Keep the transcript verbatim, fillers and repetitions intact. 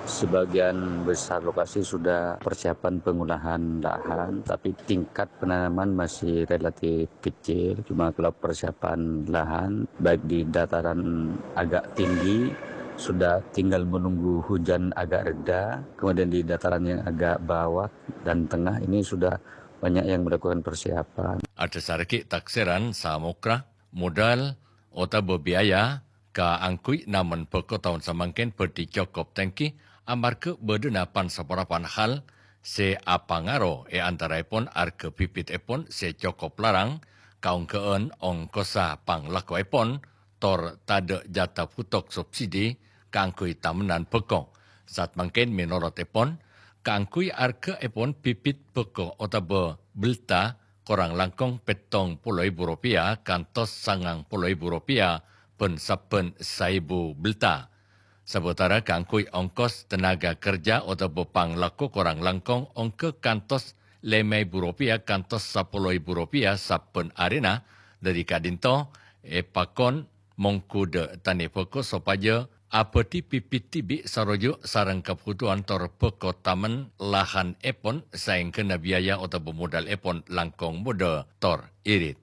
Sebagian besar lokasi sudah persiapan pengolahan lahan, tapi tingkat penanaman masih relatif kecil. Cuma kalau persiapan lahan, baik di dataran agak tinggi, sudah tinggal menunggu hujan agak reda. Kemudian di dataran yang agak bawah dan tengah ini sudah banyak yang melakukan persiapan. Adhâsarraghi taksèran samokra, modal, otabâ biaya kaangghuy namen bhâko taon samangkèn bhâdhi cokop tèngghi amarghâ bâdâna pan-saponapan hal sè apangaro è antaraèpon arghâ bibitèpon sè cokop larang, kaonggâ'ân ongkossa panglakkoèpon, tor tadâ' jhâta bhuto' subsidi kaangghuy tamennan bhâko. Satmangkèn mènorotèpon, kaangghuy arghâèpon bibit bhâko otabâ belta korang langkong pèttong polo èbu ropèya kantos sangang polo èbu ropèya bân sabbhân saèbu belta. Sabâtara kaangghuy ongkos tenaga kerja otabâ panglakko korang langkong ongghâ kantos lèma èbu ropèya kantos sapolo èbu ropèya sabbhân arèna, dâri ka'dinto èpakon mongghu dâ' tanè bhâko sopajâ abâdhi bibit dhibi' saroju' sareng kabhutowan tor bhâko tamen lahanèpon saèngghâna biaya otabâ modalèpon langkong modâ tor irit.